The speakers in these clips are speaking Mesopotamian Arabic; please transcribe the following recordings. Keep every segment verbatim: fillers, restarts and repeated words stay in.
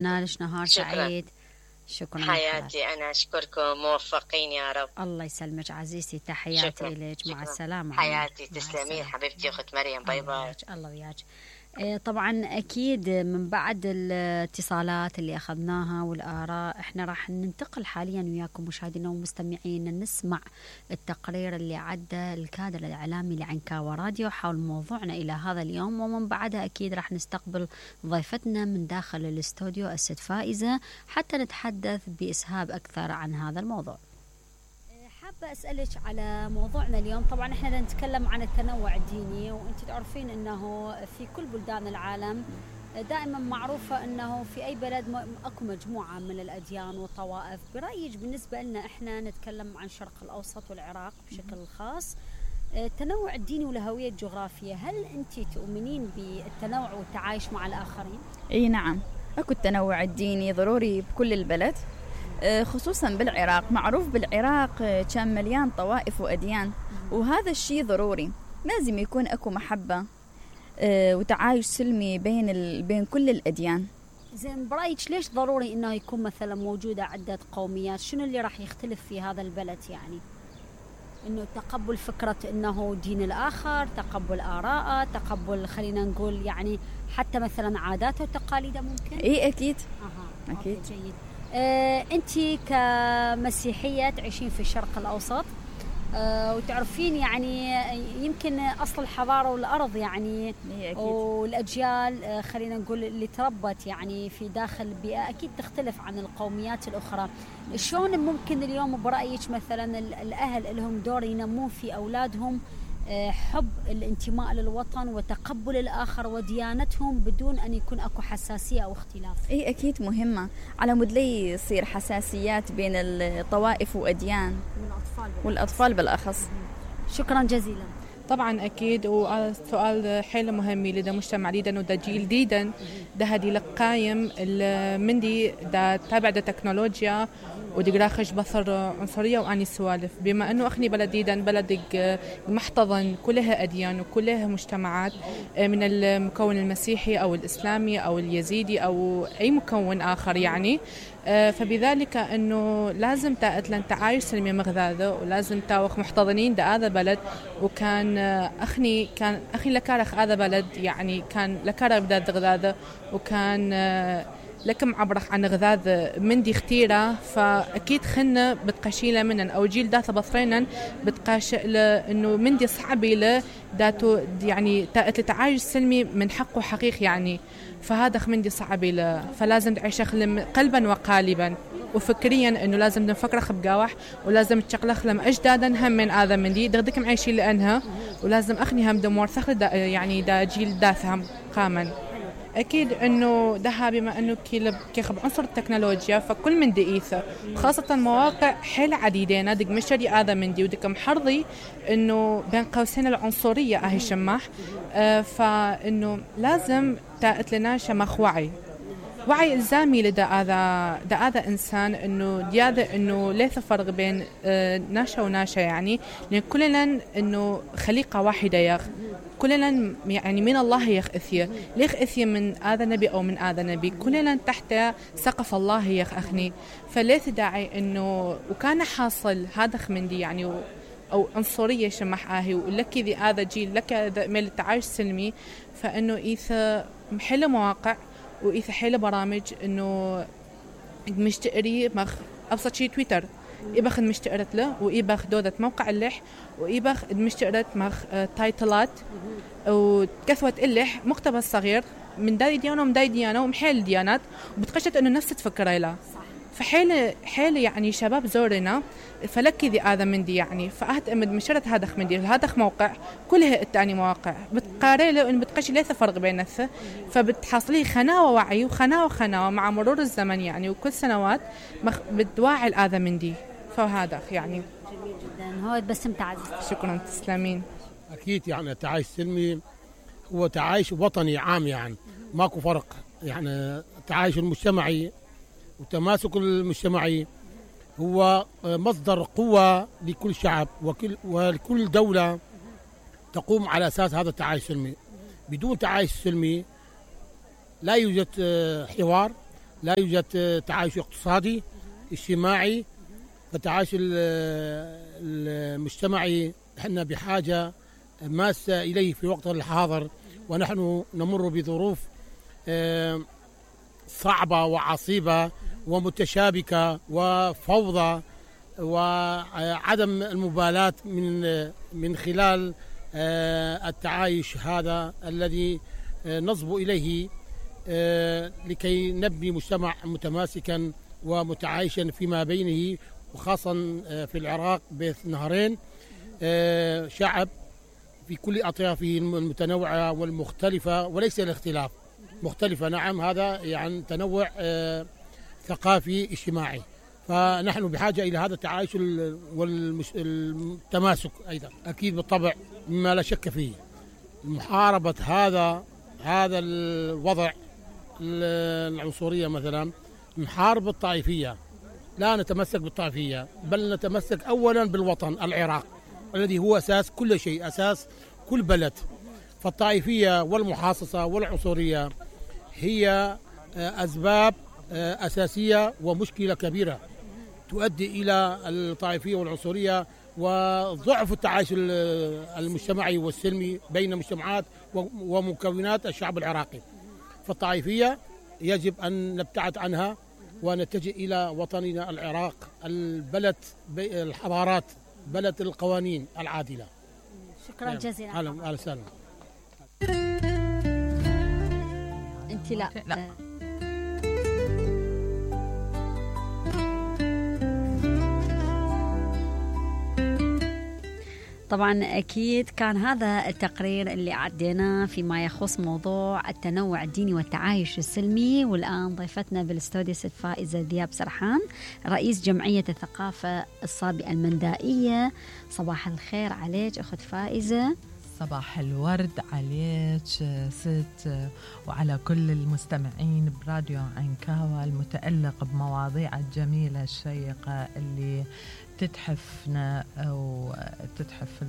نالش نهار شكرا سعيد. شكرا حياتي، أنا أشكركم، موفقين يا رب. الله يسلمك عزيزتي، تحياتي شكرا إليك. مع شكرا السلامة حياتي، مع تسلمين السلامة. حبيبتي أخت مريم. باي الله باي. وياك، الله وياك. آه، طبعا أكيد من بعد الاتصالات اللي أخذناها والآراء احنا راح ننتقل حاليا وياكم مشاهدينا ومستمعين نسمع التقرير اللي عدى الكادر الإعلامي لعنكاوة راديو حول موضوعنا إلى هذا اليوم، ومن بعدها أكيد راح نستقبل ضيفتنا من داخل الاستوديو الست فائزة حتى نتحدث بإسهاب أكثر عن هذا الموضوع. حابة أسألك على موضوعنا اليوم. طبعا احنا نتكلم عن التنوع الديني، وانت تعرفين انه في كل بلدان العالم دائما معروفة انه في اي بلد اكو مجموعة من الاديان والطوائف. برأيك بالنسبة لنا احنا نتكلم عن الشرق الاوسط والعراق بشكل خاص، التنوع الديني والهوية الجغرافية، هل انت تؤمنين بالتنوع والتعايش مع الاخرين؟ اي نعم، اكو التنوع الديني ضروري بكل البلد، خصوصا بالعراق. معروف بالعراق كان مليان طوائف وأديان، وهذا الشيء ضروري. لازم يكون أكو محبة وتعايش سلمي بين ال... بين كل الأديان. زين، برأيك ليش ضروري إنه يكون مثلا موجودة عدة قوميات؟ شنو اللي راح يختلف في هذا البلد؟ يعني إنه تقبل فكرة إنه دين الآخر، تقبل آراءه، تقبل خلينا نقول يعني حتى مثلا عاداته وتقاليده ممكن؟ إيه أكيد. أها. أكيد. أوكي، جيد. آه، أنت كمسيحية تعيشين في الشرق الأوسط، آه، وتعرفين يعني يمكن أصل الحضارة والأرض يعني والأجيال، آه، خلينا نقول اللي تربت يعني في داخل بيئة أكيد تختلف عن القوميات الأخرى. شلون ممكن اليوم برأيك مثلا الأهل لهم دور ينمون في أولادهم حب الانتماء للوطن وتقبل الآخر وديانتهم بدون أن يكون أكو حساسية أو اختلاف؟ إيه أكيد مهمة، على مود لي يصير حساسيات بين الطوائف وأديان والأطفال بالأخص. والأطفال بالأخص. شكرا جزيلا. طبعا أكيد، والسؤال حيل مهم لدى مجتمع ليدا ودا جيل ديدا ده هدي لقايم مندي دا تابع دا تكنولوجيا ودي راخش بصر عنصرية وأني سوالف، بما أنه أخني بلد ديدا بلد محتضن كلها أديان وكلها مجتمعات من المكون المسيحي أو الإسلامي أو اليزيدي أو أي مكون آخر يعني. فبذلك أنه لازم تأتلن تعايش سلمي مغذاذة، ولازم تاوخ محتضنين دا هذا بلد. وكان أخني كان أخي لكارخ هذا بلد يعني كان لكارخ بدأ غذاذة، وكان لكم عبرخ عن غذاذ من دي اختيرة. فأكيد خلنا بتقشيلة منن أو جيل داثة بصرينا بتقاش إنه من دي صعبي له داتو يعني تعايش سلمي من حقه حقيقي يعني. فهذا من دي صعبي له، فلازم تعيش قلبا وقالبا وفكريا انه لازم نفكر بقاوح، ولازم تشغلخ لم اجدادا هم من هذا من دي دغدك معيشين لانها، ولازم اخني هم دمور ثخل دا يعني دا جيل داثهم قاما. اكيد انه ده بما انه كيخب عنصر التكنولوجيا فكل من دقيثه، خاصه مواقع حيل عديده دق مشتري هذا من دي ودك محرضي انه بين قوسين العنصريه اهي شماح. آه فانه لازم تأتلنا شمخ وعي وعي إلزامي لدى هذا دا هذا إنسان إنه دياذا إنه ليس فرق بين آه ناشا وناشا يعني، لأن كلنا إنه خليقة واحدة يخ، كلنا يعني من الله يخ إثيه ليخ إثيه من هذا نبي أو من هذا نبي، كلنا تحت سقف الله يخ أخني. فليس داعي إنه وكان حاصل هذا من دي يعني أو عنصرية شمح آهي ولك ذي هذا جيل لك ميل التعايش سلمي. فإنه إيثا محل مواقع وإيثا حيل برامج إنه مشتقري مخ أبسط شيء تويتر إبخ مشتقرت له وإبخ دودة موقع اللح وإبخ مشتقرت مخ تايتلات وكثوة اللح مقتبس صغير من داي ديانة ومن داي ديانة ومحيل ديانات وبتقشت إنه نفس تفكر له. فحيل حيل يعني شباب زورنا فلك ذي هذا من دي يعني. فأهت أمد مشرت هذا من دي هذا موقع كلها التاني مواقع بتقارن له إن بتقش ليس فرق بين الث، فبتحصلي خناوة وعي وخناوة خناوة مع مرور الزمن يعني، وكل سنوات بتواعي هذا من دي. فهذا يعني جميل جدا. هو بس متعز. شكرا تسلمين. أكيد يعني تعايش سلمي هو تعايش وطني عام يعني ماكو فرق يعني. تعايش المجتمعي وتماسك المجتمعي هو مصدر قوة لكل شعب وكل ولكل دولة تقوم على أساس هذا التعايش السلمي. بدون تعايش سلمي لا يوجد حوار لا يوجد تعايش اقتصادي اجتماعي. فالتعايش المجتمعي احنا بحاجة ماسة إليه في وقت الحاضر، ونحن نمر بظروف صعبة وعصيبة ومتشابكة وفوضى وعدم المبالاة من من خلال التعايش هذا الذي نصب إليه لكي نبني مجتمع متماسكا ومتعايشا فيما بينه، وخاصة في العراق بين نهرين، شعب في كل أطيافه المتنوعة والمختلفة وليس الاختلاف، مختلفة نعم، هذا يعني تنوع ثقافي اجتماعي. فنحن بحاجة إلى هذا التعايش والتماسك أيضا أكيد بالطبع، مما لا شك فيه. محاربة هذا هذا الوضع العنصرية مثلا، نحارب الطائفية، لا نتمسك بالطائفية، بل نتمسك أولا بالوطن العراق الذي هو أساس كل شيء، أساس كل بلد. فالطائفية والمحاصصة والعنصرية هي أسباب أساسية ومشكلة كبيرة تؤدي إلى الطائفية والعنصرية وضعف التعايش المجتمعي والسلمي بين مجتمعات ومكونات الشعب العراقي. فالطائفية يجب أن نبتعد عنها ونتجه إلى وطننا العراق، البلد الحضارات، بلد القوانين العادلة. شكرا جزيلا. أهلا أهلا وسهلا. أنت لا, لا. طبعا أكيد كان هذا التقرير اللي عديناه فيما يخص موضوع التنوع الديني والتعايش السلمي. والآن ضيفتنا بالاستوديو ست فائزة ذياب سرحان، رئيس جمعية الثقافة الصابئة المندائية. صباح الخير عليك أخت فائزة. صباح الورد عليك ست وعلى كل المستمعين براديو عنكاوة المتألق بمواضيع الجميلة الشيقة اللي تتحفنا أو تتحف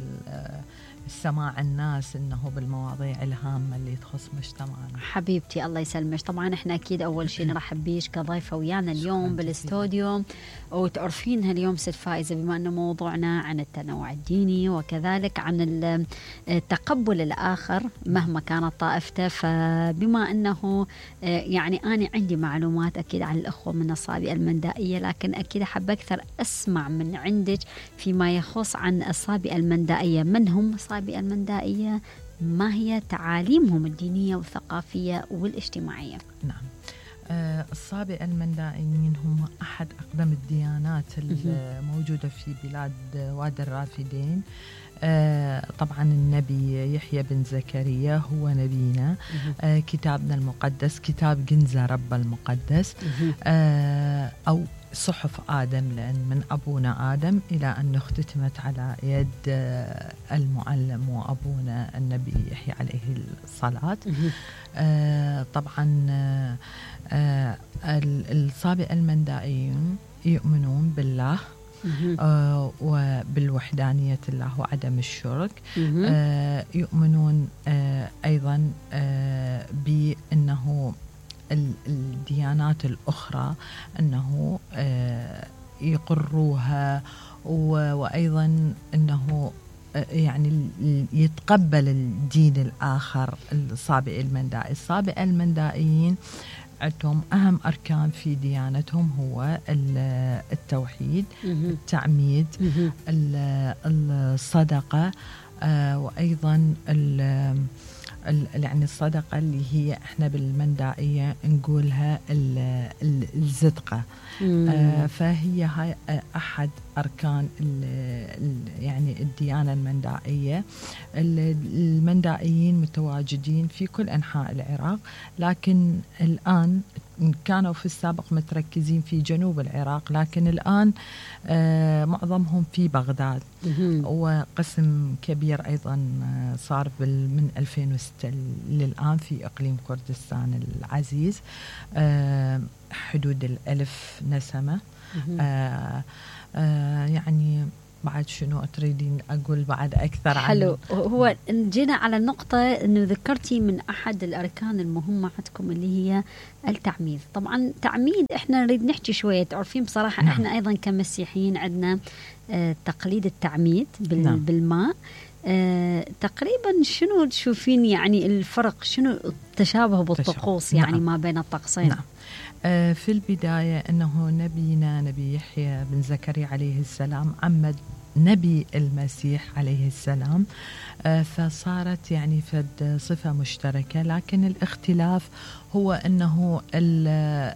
السماع الناس إنه بالمواضيع الهامة اللي تخص مجتمعنا. حبيبتي الله يسلمك. طبعا إحنا أكيد أول شيء نرحب بيش كضيفة ويانا اليوم بالاستوديو، وتعرفينها اليوم ست فائزة بما أنه موضوعنا عن التنوع الديني وكذلك عن التقبل الآخر مهما كانت طائفته. فبما أنه يعني أنا عندي معلومات أكيد عن الأخوة من الصابئة المندائية، لكن أكيد أحب أكثر أسمع من عندك فيما يخص عن الصابئة المندائية. من هم الصابئة المندائية؟ ما هي تعاليمهم الدينية والثقافية والاجتماعية؟ نعم، آه الصابئة المندائيين هم أحد أقدم الديانات الموجودة في بلاد وادي الرافدين. آه طبعا النبي يحيى بن زكريا هو نبينا. آه كتابنا المقدس كتاب جنزة رب المقدس، آه أو صحف آدم، لأن من أبونا آدم إلى أن اختتمت على يد المعلم وأبونا النبي يحيى عليه الصلاة. آه طبعا آه الصابئة المندائيون يؤمنون بالله آه وبالوحدانية الله وعدم الشرك. آه يؤمنون آه أيضا آه بأنه الديانات الأخرى أنه يقروها، وأيضا أنه يعني يتقبل الدين الآخر. الصابئة المندائي الصابئة المندائيين عندهم أهم أركان في ديانتهم هو التوحيد، التعميد، الصدقة، وأيضا يعني الصدقة اللي هي احنا بالمندائية نقولها الزدقة. آه فهي هاي أحد أركان ال ال يعني الديانة المندائية. المندائيين متواجدين في كل أنحاء العراق، لكن الآن كانوا في السابق متركزين في جنوب العراق، لكن الآن آه معظمهم في بغداد، وقسم كبير أيضا صار من ألفين وستة للآن في إقليم كردستان العزيز، آه حدود الألف نسمة. آه آه يعني بعد شنو تريدين أقول بعد أكثر عن حلو. هو جينا على النقطة أنه ذكرتي من أحد الأركان المهمة عندكم اللي هي التعميد. طبعا تعميد إحنا نريد نحكي شوية، تعرفين بصراحة نعم. إحنا أيضا كمسيحيين عندنا آه تقليد التعميد بال نعم. بالماء. آه تقريبا شنو تشوفين يعني الفرق، شنو التشابه بالطقوس يعني نعم. ما بين الطقسين؟ نعم. في البداية أنه نبينا نبي يحيى بن زكريا عليه السلام عمد نبي المسيح عليه السلام، فصارت يعني فد صفة مشتركة، لكن الاختلاف هو أنه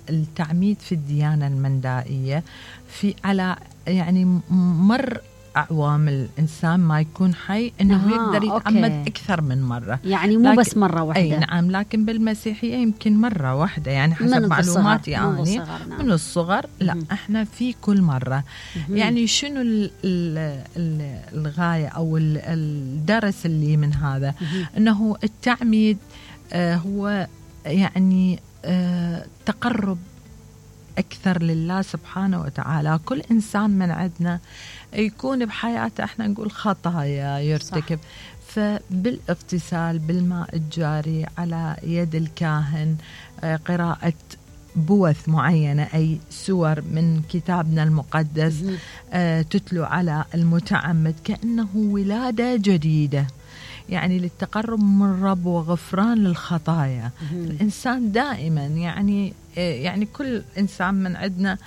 التعميد في الديانة المندائية في على يعني مر أعوام الإنسان ما يكون حي أنه آه، يقدر يتعمد أوكي. أكثر من مرة، يعني مو بس مرة واحدة. أي نعم، لكن بالمسيحية يمكن مرة واحدة يعني حسب معلوماتي يعني من الصغر. لا م- احنا في كل مرة م- يعني شنو ال ال ال الغاية أو ال الدرس اللي من هذا م- أنه التعميد آه هو يعني آه تقرب أكثر لله سبحانه وتعالى. كل إنسان من عندنا يكون بحياته احنا نقول خطايا يرتكب، صح. فبالاغتسال بالماء الجاري على يد الكاهن، قراءة بوث معينة أي سور من كتابنا المقدس تتلو على المتعمد كأنه ولادة جديدة، يعني للتقرب من الرب وغفران للخطايا. الإنسان دائما يعني يعني كل إنسان من عندنا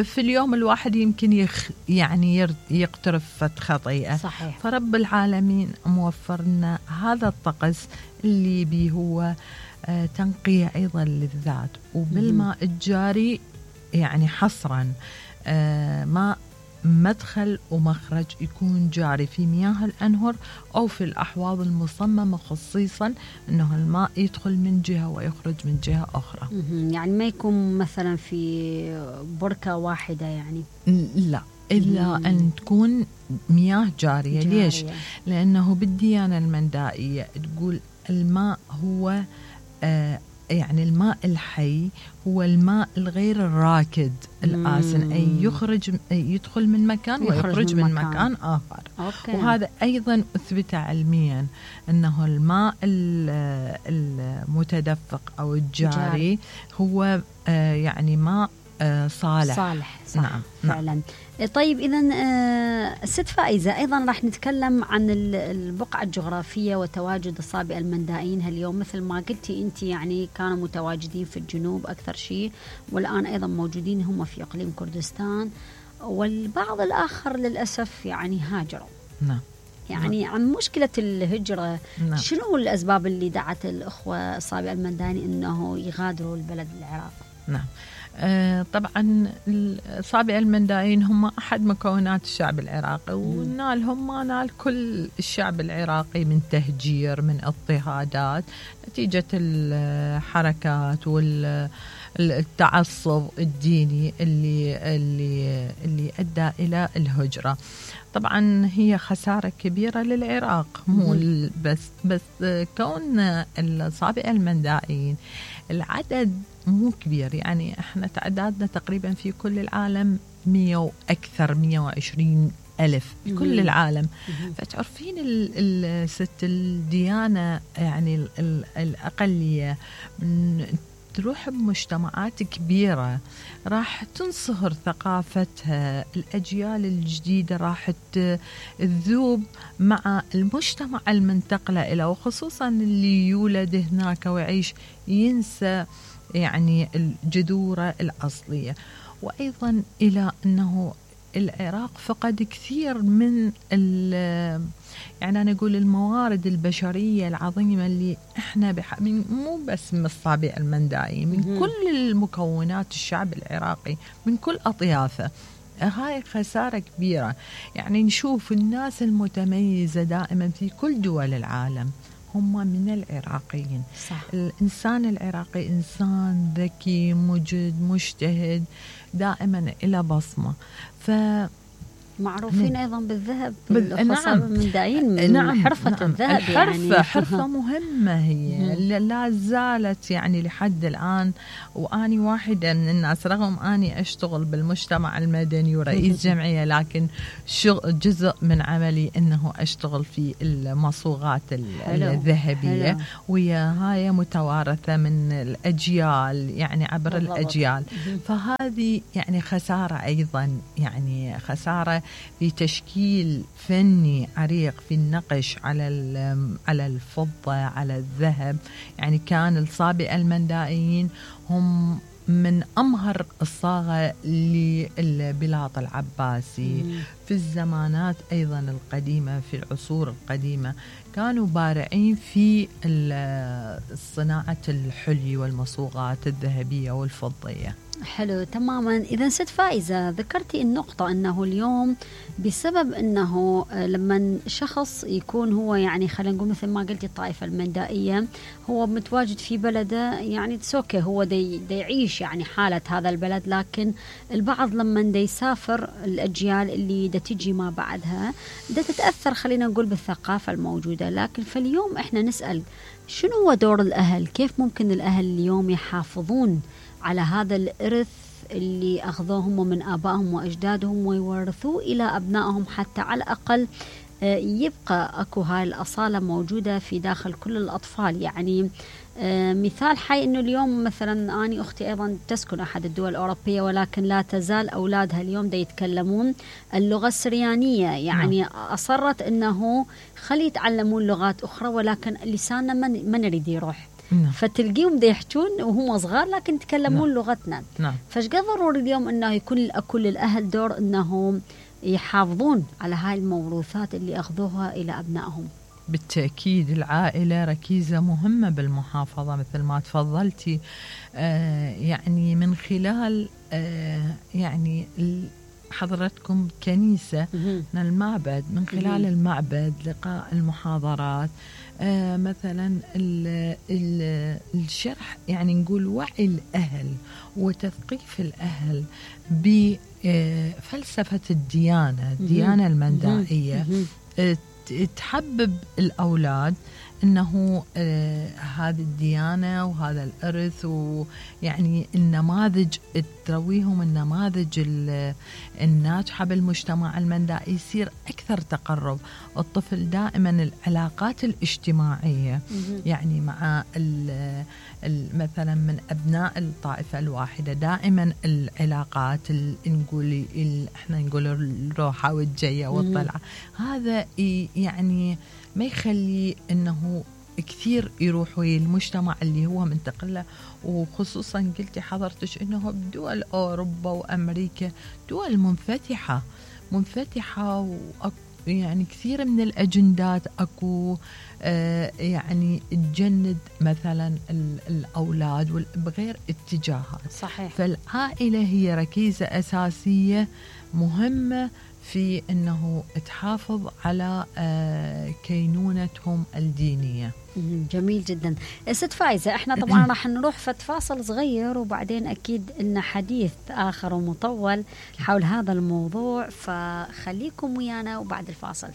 في اليوم الواحد يمكن يخ يعني يقترف خطيئة، صحيح. فرب العالمين موفر لنا هذا الطقس اللي بيه هو تنقية أيضا للذات، وبالماء الجاري يعني حصرا ماء مدخل ومخرج يكون جاري في مياه الأنهر أو في الأحواض المصممة، خصيصا أنه الماء يدخل من جهة ويخرج من جهة أخرى. يعني ما يكون مثلا في بركة واحدة يعني، لا إلا مم. أن تكون مياه جارية, جارية. ليش؟ لأنه بالديانة المندائية تقول الماء هو آه يعني الماء الحي هو الماء الغير الراكد الآسن، أي يخرج يدخل من مكان ويخرج من, من مكان, مكان آخر. أوكي. وهذا أيضا أثبت علميا أنه الماء المتدفق أو الجاري جاري. هو آه يعني ماء آه صالح صالح صح. نعم. فعلا نعم. طيب إذن آه ست فائزة، أيضا راح نتكلم عن البقعة الجغرافية وتواجد الصابئة المندائيين هاليوم. مثل ما قلتي أنت يعني كانوا متواجدين في الجنوب أكثر شيء، والآن أيضا موجودين هم في إقليم كردستان، والبعض الآخر للأسف يعني هاجروا. نعم. يعني نعم. عن مشكلة الهجرة، نعم. شنو الأسباب اللي دعت الأخوة الصابئة المندائيين أنه يغادروا البلد العراق؟ نعم. آه طبعا الصابئة المندائيين هم أحد مكونات الشعب العراقي، ونالهم ما نال كل الشعب العراقي من تهجير، من اضطهادات نتيجة الحركات والتعصب الديني اللي اللي اللي أدى إلى الهجرة. طبعا هي خسارة كبيرة للعراق، مو بس بس كون الصابئة المندائيين العدد مو كبير، يعني احنا تعدادنا تقريبا في كل العالم مية وأكثر مية وعشرين ألف في كل العالم. فتعرفين الست الديانة يعني ال ال الأقلية تروح بمجتمعات كبيرة راح تنصهر ثقافتها، الأجيال الجديدة راح تذوب مع المجتمع المنتقلة إلى، وخصوصا اللي يولد هناك ويعيش ينسى يعني الجذور الأصلية. وأيضا إلى أنه العراق فقد كثير من يعني أنا أقول الموارد البشرية العظيمة اللي إحنا بح... من مو بس من الصابئة المندائيين، من م- كل المكونات الشعب العراقي من كل أطيافه. هاي خسارة كبيرة. يعني نشوف الناس المتميزة دائما في كل دول العالم هم من العراقيين. صح. الإنسان العراقي إنسان ذكي مجد مجتهد دائما إلى بصمة. ف معروفين أيضا بالذهب، بال- الخاصة نعم. بالمندائين من نعم حرفة نعم. الذهب الحرفة يعني حرفة مهمة هي لا زالت يعني لحد الآن. وأني واحدة من الناس رغم أني أشتغل بالمجتمع المدني ورئيس جمعية، لكن شغل جزء من عملي أنه أشتغل في المصوغات الذهبية، ويا هاي متوارثة من الأجيال يعني عبر بالضبط. الأجيال. فهذه يعني خسارة أيضا، يعني خسارة في تشكيل فني عريق في النقش على على الفضة على الذهب. يعني كان الصابئة المندائيين هم من أمهر الصاغة للبلاط العباسي. مم. في الزمانات أيضا القديمة، في العصور القديمة كانوا بارعين في صناعة الحلي والمصوغات الذهبية والفضية. حلو تماما. إذا ست فائزة ذكرتي النقطة أنه اليوم بسبب أنه لما شخص يكون هو يعني خلينا نقول مثل ما قلتي الطائفة المندائية هو متواجد في بلده، يعني تسوكي هو دي, دي يعيش يعني حالة هذا البلد، لكن البعض لما دي يسافر الأجيال اللي دا تجي ما بعدها دا تتأثر خلينا نقول بالثقافة الموجودة. لكن فاليوم احنا نسأل شنو هو دور الأهل؟ كيف ممكن الأهل اليوم يحافظون على هذا الإرث اللي أخذوهم من آبائهم وأجدادهم ويورثوه إلى أبنائهم، حتى على الأقل يبقى أكو هاي الأصالة موجودة في داخل كل الأطفال. يعني مثال حي أنه اليوم مثلا أنا أختي أيضا تسكن أحد الدول الأوروبية، ولكن لا تزال أولادها اليوم دا يتكلمون اللغة السريانية. يعني أصرت أنه خلي يتعلمون لغات أخرى، ولكن لساننا ما نريد يروح. نعم. فتلقيهم دا يحجون وهم صغار لكن يتكلمون نعم. لغتنا. نعم. فشقد ضروري اليوم أنه يكون كل الأهل دور أنهم يحافظون على هاي الموروثات اللي أخذوها إلى أبنائهم. بالتأكيد العائلة ركيزة مهمة بالمحافظة مثل ما تفضلتي. آه يعني من خلال آه يعني حضرتكم كنيسة من المعبد، من خلال المعبد لقاء المحاضرات، آه مثلا ال ال الشرح، يعني نقول وعي الأهل وتثقيف الأهل بفلسفة الديانة الديانة المندائية، آه تحبب الأولاد أنه آه هذه الديانة وهذا الإرث، ويعني النماذج ترويهم النماذج الناجحة بالمجتمع المندائي، يصير أكثر تقرب الطفل دائما العلاقات الاجتماعية يعني مع مثلا من أبناء الطائفة الواحدة، دائما العلاقات نقول احنا نقول الروحة والجية والطلعة، هذا يعني ما يخلي أنه كثير يروحوا المجتمع اللي هو منتقل له. وخصوصا قلتي حضرتش أنه بدول أوروبا وأمريكا دول منفتحة منفتحة يعني كثير من الأجندات أكو آه يعني تجند مثلا الأولاد بغير اتجاهات. صحيح. فالعائلة هي ركيزة أساسية مهمة في أنه تحافظ على آه كينونتهم الدينية. جميل جدا. ست فايزة، احنا طبعا راح نروح فتفاصل صغير وبعدين أكيد إن حديث آخر ومطول حول هذا الموضوع، فخليكم ويانا وبعد الفاصل.